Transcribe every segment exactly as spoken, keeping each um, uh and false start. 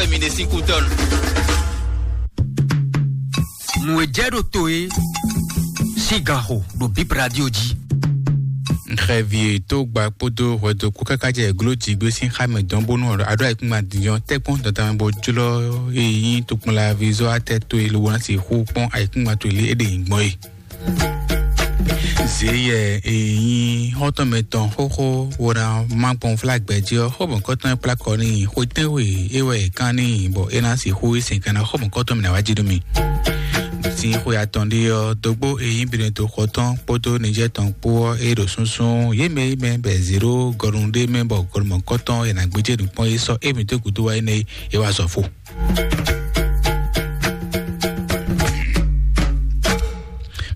Mi ɖe sín kú tɔn. Nǔ e jɛ ɖo to e sín ganxo ɖo Bib Radio jí. Xɛvi tó gba kpódó hwɛdo kpó káká jɛ gló jǐgbé sín xá mɛ dɔn bónú aɖó ayǐkúngban dindɔn tɛ́kpɔ́n dɔn tamɛ bó jlɔ́ e nyí tokpɔnla vizɔ́ atɛ towe lobo ná sixú kpɔ́n ayǐkúngban towe lé é ɖe nyǐgbɔn e. Zeyɛ e nyí xɔ́ntɔn mɛtɔn xóxó wo ná má gbɔn flágbɛ jí ɔ́, xó mɔ̌kɔtɔn e kplá kɔ n'i xwetɛ́nwe é wɛ è kán n'i bɔ é ná sixú yi sɛn kanna xó mɔ̌kɔtɔn mɛ ná wá jí nú mì. Sín xwe atɔn ɖé ɔ́, dógbó e nyí Benedikto xɔtɔn kpódó Nijɛ́ɛ tɔn kpó ɔ́, é ɖo súnsún yě mɛ yi mɛ bɔ è zě ɖó gɔnu ɖé mɛ bɔ gɔnu mɔ̌kɔtɔn è nǎ gbéjé nǔkpɔ́n é sɔ́ émí dó gǔdo wá énɛ́ é wá zɔ fó.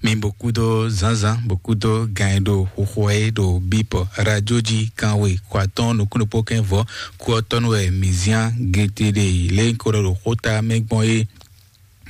Mi bó kúdó zǎnzǎn bó kúdó gan e ɖo xoxo wɛ é ɖo bípɔ radio jí kanwe kɔ atɔ́ɔ́n nukúnnukpó kɛn vɔ̌ kú ɔ́ tɔ́ nú wɛ mǐ zíán gete ɖe lě ko ɖɔ ɖo xóta mɛ gbɔn é.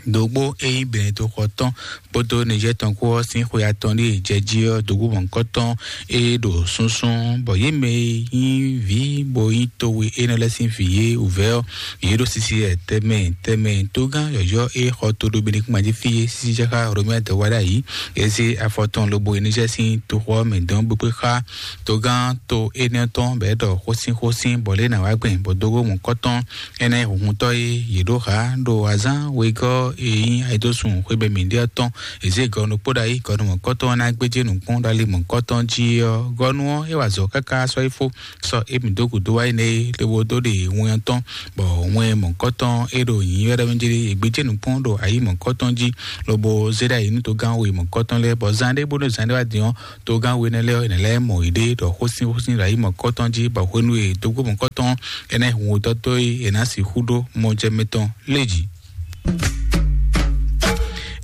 Dǒgbó é nyí Benedikto xɔtɔn kpódó Nijɛ́ɛ tɔn kpó ɔ́ sín xwe atɔn ɖíe jɛ jí ɔ́, dǒgbó mɔ̌hunkɔtɔn e ɖo súnsún, bɔ yě mɛ e nyí vǐ bó nyí towe énɛ́ lɛ́ɛ sín vǐ é wǔvɛ́ ɔ́, yě ɖo sisi wɛ tɛnmɛ tɛnmɛ. Tógán yɔ̌yɔ́ e xɔ to ɖo Benekúnma jí fí é sísí jɛ xá Romia dɔwá ɖ'ayǐ. É zé afɔ tɔn lobo yi Nijɛ́ɛ sín toxo ɔ́ mɛ dɔn bó kpé xá tógán to énɛ́ tɔn bɔ é ɖɔ xósínxósín bɔ lě ná wá gbɛn bɔ dó mɔ̌hunkɔtɔn énɛ́ hunhuntɔ́ e yě ɖó hǎ ɖo azǎn wegɔ́ e nyí ayǐdósun xwebɛ́mɛ ɖé ɔ́ tɔn. È zě gɔnu kpó ɖ'ayǐ, gɔnu mɔ̌kɔtɔn ɔ́ ná gbéjé nǔkpɔ́n ɖo ali mɔ̌kɔtɔn jí ɔ́, gɔnu ɔ́ é wa azɔ̌ káká sɔ́ yi fó, sɔ́ émí dó gǔdo wá yi nɛ́ é, lobo dó ɖe winnyɔ́ tɔn, bɔ wɛn mɔ̌kɔtɔn é ɖo nyǐnyɔ́ ɖ'ayǐ mɛ jí é gbéjé nǔkpɔ́n ɖo ayǐ mɔ̌kɔtɔn jí, lobo zé ɖ'ayǐ nú togán we mɔ̌kɔtɔn lɛ́ɛ, bɔ zan ɖé bónú zan ɖé wá din ɔ́, togán we énɛ́ lɛ́ɛ ɔ́, è nǎ lɛ́ mɔ yěɖée ɖɔ xósín xósín ɖo ayǐ mɔ̌kɔtɔn jí, bɔ hwenu e dógbó mɔ̌kɔtɔn énɛ́ hun wǒtɔ́ dó é, è nǎ sixú ɖó mɔjɛmɛ tɔn lé jǐ.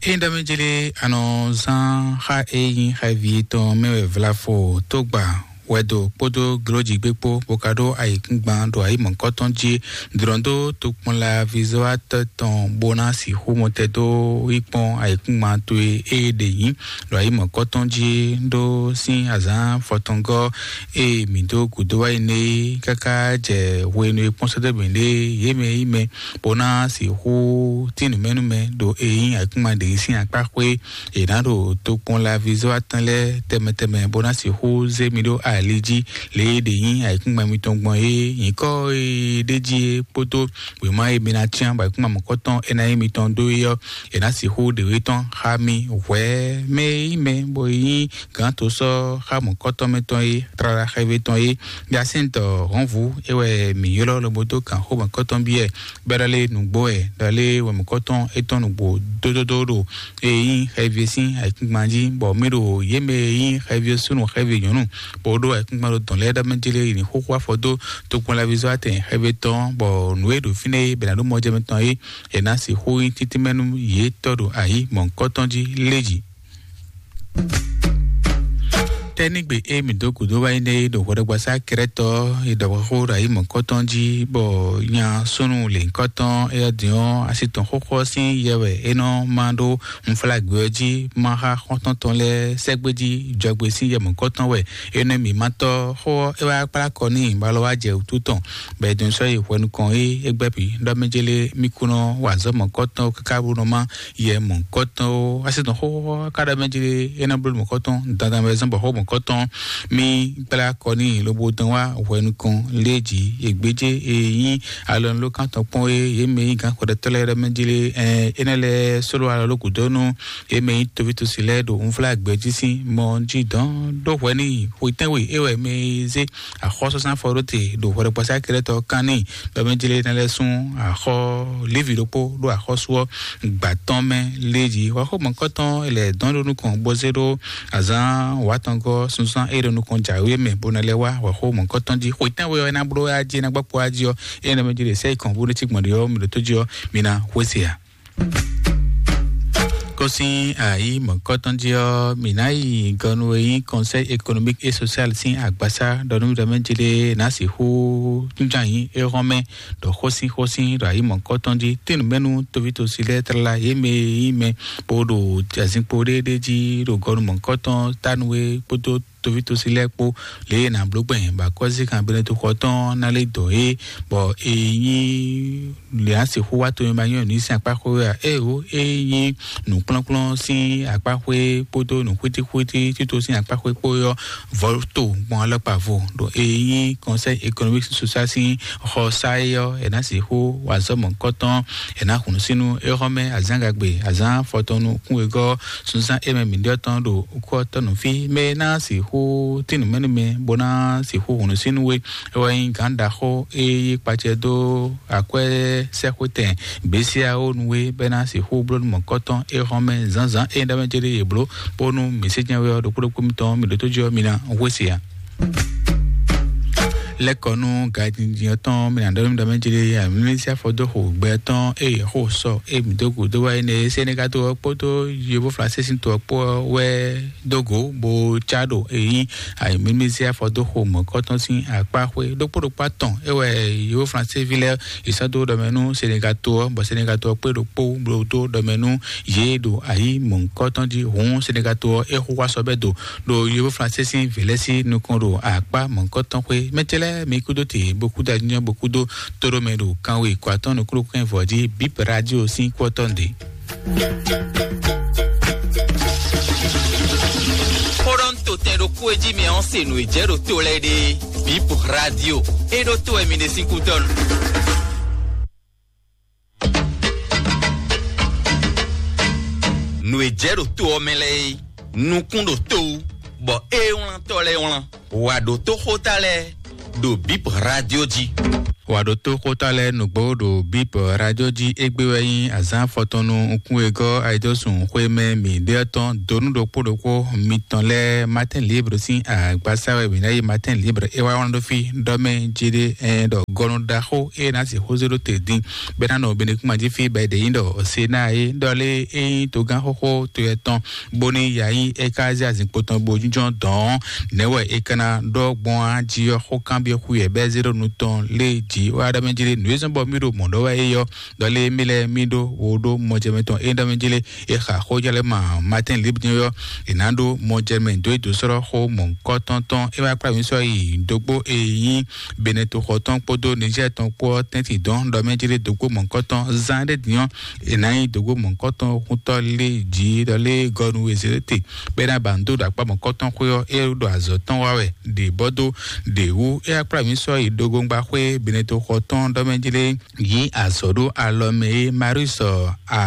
Ényí ɖɔ mɛ jlé a nɔ zán xá e nyí xɛví tɔn mɛ wɛ vlafo tógba wɛdo kpódó glójigbé kpó, bó ka ɖó ayǐkúngban ɖo ayǐ mɔ̌kɔtɔn jí, dlɔ̌n dó tokpɔnla vizɔ́watɔ́ tɔn bó ná sixú mɔtɛn dó yi kpɔ́n ayǐkúngban towe e ɖe nyǐ ɖo ayǐ mɔ̌kɔtɔn jí ɖó sín azǎn fɔtɔngɔ́ e mǐ dó gǔdo wá yi nɛ́ é, káká jɛ hwenu e kpɔ́n sɛ́dɔ́ mǐɖée yě mɛ yi mɛ, bó ná sixú tín nǔmɛnúmɛ ɖo e nyí ayǐkúngban ɖě sín akpá xwé. È nǎ ɖo tokpɔnla vizɔ́ atɔn lɛ́ɛ tɛnmɛ tɛnmɛ bó ná sixú zé mi ɖó ali jí lě e ɖě nyí ayǐkúngban mitɔn gbɔn é. Nyǐkɔ e ɖ'é jí é kpódó wěma e mi ná cyán bɔ ayǐkúngban mɔ̌kɔtɔn é ná nyí mitɔn dó é ɔ́, è nǎ sixú ɖe wě tɔn xá mi hwɛ̌ mɛ e nyí mɛ bɔ é nyí gǎn to sɔ́ xá mɔ̌kɔtɔn mɛ tɔn é, tlala xɛvé tɔn é. Yasíntɔ hɔnvú é wɛ mǐ ylɔ́ lobo dó gǎn xó mɔ̌kɔtɔn byɔ́ ɛ, bɔ é ɖɔ lé nǔgbó wɛ, ɖɔ lé wɛ mɔ̌kɔtɔn étɔn nǔgbó dódódó ɖo e nyí xɛví sín ayǐkúngban jí, bɔ mǐ ɖo yě mɛ e nyí xɛví súnnu xɛví nyɔ̌nu, bó ɖó ayǐkúngban ɖo dɔ̌n lɛ́ɛ ɖɔ mɛ jlé yi ní xóxó afɔ dó tokpɔnlaví zɔ́ atɛn xɛví tɔn, bɔ nǔ e ɖo fínɛ́ é bɛ ná ɖó mɔjɛmɛ tɔn é, è nǎ sixú nyí títí mɛ nú yě tɔ́ ɖo ayǐ mɔ̌hunkɔtɔn jí lé jí. Tɛ́nígbe e mǐ dó gǔdo wá nyí nɛ́ é ɖo hwɛɖɔgbasá Krɛ́tɔ e ɖɔ xó ɖo ayǐ mɔ̌kɔtɔn jí, bɔ nya súnnu lěhunkɔtɔn éyɛ́ din ɔ́, asi tɔn xóxó ɔ́ sín yɛ wɛ é nɔ má ɖó unflágbé ɔ́ jí, má xá xɔ́ntɔn tɔn lɛ́ɛ sɛ́gbé jí jɔgbe sín yɛ mɔ̌kɔtɔn wɛ é nɔ mǐ má tɔ́. Xó ɔ́ é wá kplá kɔ n'i bɔ alɔ wá jɛ wǔtu tɔn, bɔ é dɔn sɔ́ yi hwɛ nukɔn é é gbɛ́ bǐ ɖɔ mɛ jélé mí kú nɔ wa azɔ̌ mɔ̌kɔtɔn káká bó nɔ má yɛ mɔ̌kɔtɔn ó. Asi tɔn xóxó ká ɖɔ mɛ jlé é ná bló mɔ̌kɔtɔn dandan wɛ zɔ́n bɔ xó mɔ̌kɔtɔn mì gbla kɔ n'i lobo dɔn wá hwɛ nukɔn lé jǐ. È gbéjé e nyí alɔnulókan tɔn kpɔ́n é, yě mɛ nyí gǎn xwɛɖɛtɔ́ lɛ́ɛ ɖɔ mɛ jlé, ɛn, énɛ́ lɛ́ɛ sóló alɔ ló gǔdo nú yě mɛ nyí toví tosi lɛ́ɛ ɖo unflágbɛjí sín mɔ jí dɔn ɖó hwɛ n'i. Xwetɛ́nwe é wɛ mɛ e zé axɔ́súzán fɔ ɖó te ɖo hwɛɖɔkpɔsá kɛɖɛtɔ́ kan n'i, bɔ mɛ jlé ná lɛ́ sún axɔ Lévi ɖokpó ɖó axɔ́sú ɔ́ gbǎ tɔn mɛ lé jí. Hwɛxó mɔ̌kɔtɔn lɛ dɔn ɖo nukɔn bó zé ɖó azǎn wǎtɔngɔ́ sunzán é ɖo nukɔn jǎwe mɛ bó ná lɛ́ wá hwɛxó mɔ̌kɔtɔn jí. Xwetɛ́nwe ɔ́ é ná bló wá jí, é ná gbɔ kpo wá jí ɔ́, é ná mɛ jlé sɛ́ yi kɔn bó ɖó cí gbɔn ɖe ɔ́, mi ɖo tó jí ɔ́, mi ná xwé se ǎ. Kɔsin ayi mɔ̌kɔtɔn jí ɔ́, mǐ ná yi gɔnu e nyí Conseil économique et social sín agbasá ɖɔ nú ɖɔ mɛ jlé ná sixú tún ján nyí é hɔn mɛ ɖɔ xósin xósin ɖɔ ayi mɔ̌kɔtɔn jí. Tínú mɛnu tovítɔ́si lɛ́ɛ tlala yě mɛ e nyí mɛ bó ɖo azinkpo ɖéɖé jí ɖo gɔnu mɔ̌kɔtɔn tánu e kpódó toví tosi lɛ́ɛ kpó lě e è nǎ bló gbɛn bɔ akɔ́síkan Benɛto xɔ tɔn ná lɛ́ dɔn é, bɔ è nyí lě á sixú wá to e ma nyɔ́ nǔ sín akpá xwé wɛ a? Éeǒ, é nyí nǔkplɔ́nkplɔ́n sín akpá xwé kpódó nǔxwítíxwítí tito sín akpá xwé kpó ɔ́, vɔ̌ to gbɔn alɔkpa vo ɖo e nyí Conseil économique et social sín xɔ sá é ɔ́, è nǎ sixú wa azɔ̌ mɔ̌hunkɔtɔn, è nǎ hun nǔsínnú é xɔ́mɛ azǎngagbe, azǎn afɔtɔn nukúnwegɔ́, sunzán é mɛ mǐɖɔtɔn ɖo kú ɔ́ tɔ́ nú fí, mɛ e ná sixú tín nǔ mɛ nú mɛ bó ná sixú hun nǔsínnú we. É wɛ nyí gǎn ɖaxó e yí kpacɛ dó akwɛ́sɛ́xwétɛn Besiawo nu é, bɔ é ná sixú bló nú mɔ̌kɔtɔn é xɔ́mɛ zǎnzǎn é ɖɔ mɛ céɖé yě bló, bónú mǐ sé jɛ́n wɛ ɔ́, ɖokpó ɖokpó mitɔn mǐ ɖótó jí ɔ́, mi ná hwesí ǎ. Lɛ́kɔnú gajinjin ɔ́ tɔn, mi ná ɖɔ nú mi ɖɔ mɛ céɖé, amǐ sí afɔ dó xo gbɛ tɔn eye xó sɔ e mǐ dó gǔdo wá énɛ́, Senegato ɔ́ kpódó Yovo Flansé sín to ɔ́ kpó ɔ́ wɛ dó gǒ bó cá ɖo eyín ayǐmímí zé afɔ dó xo mɔ̌kɔtɔn sín akpá xwé ɖokpó ɖokpó atɔn. É wɛ Yovo Flansé ví lɛ́ɛ è sɔ́ dó ɖɔmɛ nú Senegato ɔ́, bɔ Senegato ɔ́ kpé ɖokpó bló dó ɖɔmɛ nú yě ɖo ayǐ mɔ̌kɔtɔn jí. Hǔn Senegato ɔ́ é xú wá sɔ́ bɛ́ do ɖo Yovo Flansé sín vǐ lɛ́ɛ sín nukɔn ɖo akpá mɔ̌kɔtɔn xwé. Mɛ ce lɛ́ɛ mi kúdó te bó kúdó anyɔ bó kúdó tóɖó mɛ ɖo kanwe kɔ atɔ́ nukúnnú kɛn vɔ̌ jí bip radio sín kú ɔ́ tɔn ɖe. Xó ɖɔ ń to tɛn ɖokpó e jí mi ɔ́ se nǔ e jɛ ɖo to lɛ́ɛ ɖe. Bip radio e ɖo to wɛ mi ɖe sín kútɔ́ nu. Nǔ e jɛ ɖo to ɔ́ mɛ lɛ́ɛ é, nukún ɖo to wú, bɔ é wlán tɔ́ lɛ́ɛ wlán. Wǎ ɖó tóxóta lɛ́ɛ ɖo bip radio jí. Wǎ ɖó tóxóta lɛ́ɛ nǔgbó ɖo bip radio jí. Égbé wɛ nyí azǎn afɔtɔn nú nukún e gɔ́ ayidɔ́sùn xwé mɛ mǐ ɖe ɔ́ tɔn donu ɖokpó ɖokpó mitɔn lɛ́ɛ. Martin Libre sín agbasa wɛ mǐ ná yi. Martin Libre é wá wlán ɖó fí ɖɔ mɛ jí ɖé ɛn ɖɔ gɔnu ɖaxó é ná sixú zé ɖó te dín bɛ́ ná nɔ benekúnma jí fí bɔ è ɖě nyí ɖɔ Sena é ɖɔ lé é nyí togán xóxó to yɛ tɔn bóní yǎyí é ka zé azinkpo tɔn bo jínjɔ́n dɔ̌n. Nɛ̌ wɛ è ka ná ɖɔ gbɔn á jí ɔ́? Xó kanbyɔ́ xú yɛ bɛ́ zé ɖo nu tɔn lé jǐ wá ɖɔ mɛ jí lé nǔ e zɔ́n bɔ mí ɖo mɔ̌ ɖɔ wɛ é yɔ ɖɔ lé mí lɛ́ɛ mí ɖó wo ɖó mɔjɛmɛ tɔn é ɖɔ mɛ jí lé. È xa xó jɛ lɛ́ ma Martin Libre ɔ́, è nǎ ɖó mɔjɛmɛ dó é dó sɔ́ xó mɔ̌hunkɔtɔn tɔn. É wá kplá mǐ sɔ́ yi dógbó e nyí Benɛto xɔ tɔn kpódó Niger tɔn kpó ɔ́ tɛ́ntin dɔn ɖɔ mɛ jí lé dógbó mɔ̌hunkɔtɔn zán ɖé din ɔ́, è nǎ nyi dǒgbó mɔ̌kɔtɔn xutɔ́ lé jǐ ɖɔ lé gɔnu e Zelete bɛ́ ná ba nǔ dó ɖo akpá mɔ̌kɔtɔn xwé ɔ́, é ɖo azɔ̌ tɔn wa wɛ ɖě bɔ dó ɖě wú. É wá kplá mǐ sɔ́ yi ɖogóŋgba xwé Beneto xɔ tɔn ɖɔ mɛ jí lé yí azɔ̌ ɖó alɔ mɛ é. Marius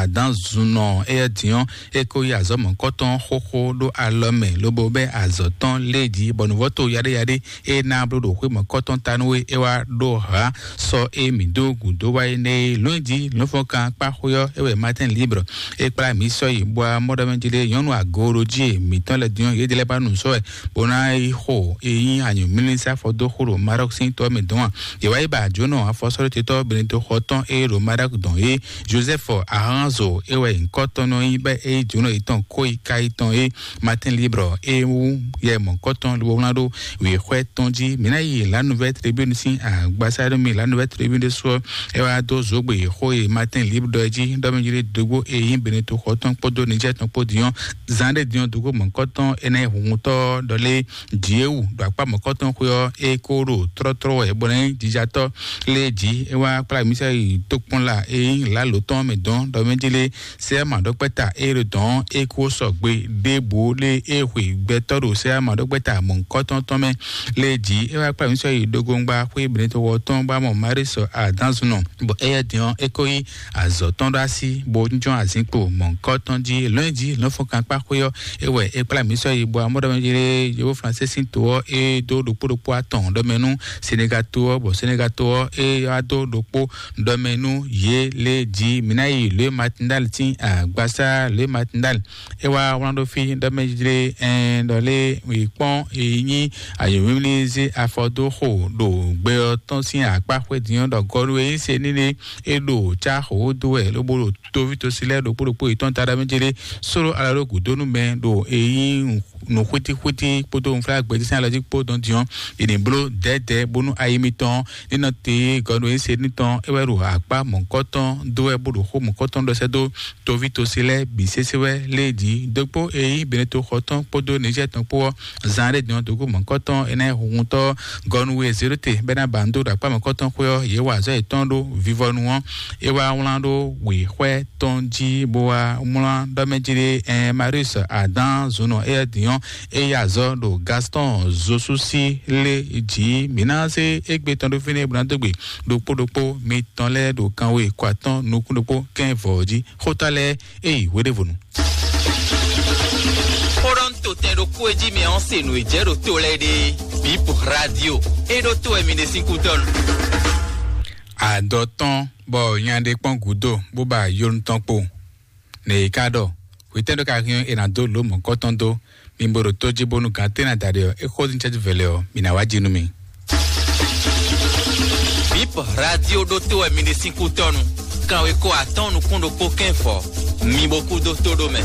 Adanzunɔ éyɛ́ din ɔ́, é ko yí azɔ̌ mɔ̌kɔtɔn xóxó ɖó alɔ mɛ lobo bɛ́ azɔ̌ tɔn lé jí bɔ nǔvɔ́ to yaɖéyaɖé e ná bló ɖo xwé mɔ̌kɔtɔn ta nú we é wá ɖó hǎ sɔ e mǐ dó gǔdo wá é nɛ́ é. Lɔ̌nyijǐ lɔ̌nfɔ́nkan kpá xwé ɔ́, é wɛ Martin Libre é kplá mǐ sɔ́ yi bɔ amɔ́ɖɔmɛ jí lé nyɔ̌nu agooɖojí e mǐtɔn lɛ́ɛ din ɔ́, yě lɛ́ ba nǔ sɔ́ wɛ bó ná yi xo e nyí anyǔmlísá fɔ dó xo ɖo Maroc sín tɔ mɛ dɔn a. Yě wá yi ba jǒnɔ afɔsɔ́ɖótetɔ́ Beneto xɔ tɔn e ɖo Maroc dɔn é, Joseph Aranzo é wɛ nyǐkɔ tɔn nɔ nyí bɔ é yí jǒnɔ yětɔn kó yi ká yi tɔn é. Martin Libre é wú yɛ mɔ̌kɔtɔn lobo wlán ɖó wěxwɛ́ tɔn jí. Mǐ ná yi La Nouvelle Tribune sín agbasá ɖó mi La Nouvelle Tribune ɖésú ɔ́, é wá dó zǒgbe xó e Martin Libre ɖɔ é jí ɖɔ mɛ jí ɖé dógbó e nyí Beneto xɔ tɔn kpódó Niger tɔn kpó din ɔ́, zán ɖé din ɔ́ dógbó mɔ̌kɔtɔn énɛ́ hunhuntɔ́ ɖɔ lé jǐ é wú ɖo akpá mɔ̌kɔtɔn xwé ɔ́, é kó ɖo tlɔ́tlɔ́ wɛ bó ná nyí jijatɔ́ lé jí. É wá kplá mǐ sɛ yi tókpɔ́nla e nyí lǎlo tɔn mɛ dɔn ɖɔ mɛ jí lé sɛ́ maɖɔkpɛ́ta e ɖo dɔ̌n é kó sɔgbe ɖěbǔ lé é hwe gbɛtɔ́ ɖo sɛ́ maɖɔkpɛ́ta mɔ̌hunkɔtɔn tɔn mɛ lé jí. É wá kplá mǐ sɔ́ yi ɖogoŋgba xwé Beneto xɔ tɔn bó wá mɔ Marísɔ Adánzunɔ, bɔ éyɛ́ din ɔ́, é kó yí azɔ̌ tɔn ɖó así bó jínjɔ́n azinkpo mɔ̌hunkɔtɔn jí. Lɔ̌nyijǐ lɔ̌nfɔnkankpá xwé ɔ́, é wɛ é kplá mǐ sɔ́ yi bó wá mɔ ɖɔ mɛ jí lé Yovóflansé sín to ɔ́, é dó ɖokpó ɖokpó atɔn ɖɔ mɛ nú Senegato ɔ́, bɔ Senegato ɔ́, é wá dó ɖokpó ɖɔ mɛ nú yě lé jí. Mǐ ná yi Lě Matindal sín agbasá Lě Matindal. É wá wlán ɖó fí ɖɔ mɛ jlé ɛn ɖɔ lé wǐ kpɔ́n è nyí ayǒmímlí zé afɔ dó xo ɖo gbɛ ɔ́ tɔn sín akpá xwé din ɔ́ ɖɔ gɔ́ɖó e nyí se nílé é ɖo cá xǒ dó wɛ lobo ɖo toví tosi lɛ́ɛ ɖokpó ɖokpó yětɔn ta ɖɔ mɛ jlé sólo alɔ ɖó gǔdó nú mɛ ɖo è nyí nǔxwítíxwítí kpódó nǔflágbɛjí sín alɔ jí kpó dɔn din ɔ́, è nǐ bló dɛ̌dɛ̌ bónú ayi mitɔn ní nɔ Te gɔnu e se ní tɔn é wɛ ɖo akpá mɔ̌kɔtɔn dó wɛ bó ɖo xó mɔ̌kɔtɔn ɖɔ sɛ́ dó toví tosi lɛ́ɛ bǐ sésé wɛ lé jí dókpó e nyí Beneto xɔ tɔn kpódó Nizɛ́ɛ tɔn kpó ɔ́. Zan ɖé dɔn dókpó mɔ̌kɔtɔn é ná huntɔ gɔnu e zéɖóte bɛ́ ná ba nǔ dó ɖo akpá mɔ̌kɔtɔn xwé ɔ́, yě wa azɔ̌ yětɔn ɖó vivɔnu ɔ́. É wá wlán ɖó wěxwɛ́ tɔn jí bó wá mlɔ́ ɖɔ mɛ jí ɖé. Ɛn Marius Adan zunɔ éyɛ́ din ɔ́, é yí azɔ̌ ɖo Gaston Zosusi lé jí. Mǐ ná zé égbé tɔn ɖó fínɛ́ bó ná dó gbe ɖokpó ɖokpó mitɔn lɛ́ɛ ɖo kanwe kɔ atɔ́ɔ́n nukún ɖokpó kɛ́n vɔ̌ jí. Xóta lɛ́ɛ é yi hweɖévonu. Xó ɖɔ un to tɛn ɖokpó e jí mi ɔ́ se nǔ e jɛ ɖo to lɛ́ɛ ɖe. Bip radio é ɖó to wɛ mi ɖe sín kútɔ́nu. Adɔ tɔn bɔ nya ɖé kpɔ́n gǔdo bó ba yonu tɔn kpo. Nɛ yě ká ɖɔ: Hwetɛ́n ɖɔ ka hɛn è nǎ dó lǒ mɔ̌kɔtɔn dó? Mi bo ɖo tó jí bónú gǎn tɛ́ ná da ɖe ɔ́, é xó dín cɛ́jú vɛ̌ lɛ́ɛ ɔ́, mi ná wá jí nú mì. Bip radio ɖótó wɛ mi ɖe sín kútɔ́nu. Kanwekó atɔ́ɔ́n nukún ɖokpó kɛ́n fɔ. Mi bo kú dó tó ɖó mɛ.